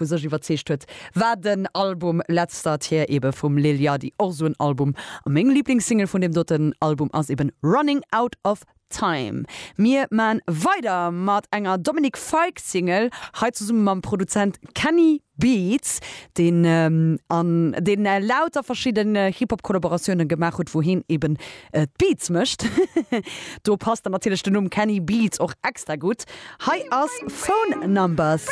U sech iwwerzeegt huet, war den Album Let's Start Here ebe vum Lil Yachty, och esou en Album. A meng Liblingssingle vun deem doten Album ass eben Running Out of Time. Mir man weider mat enger Dominic Fike Single, hei zesumme mam Produzent Kenny Beats, deen an deen lauter verschidden Hip-Hop Kollaboratioune gemaach huet, wou heen eben d'Beats mécht. Do passt dann natierlech den Numm Kenny Beats och extra gutt. Hei ass Phone Numbers.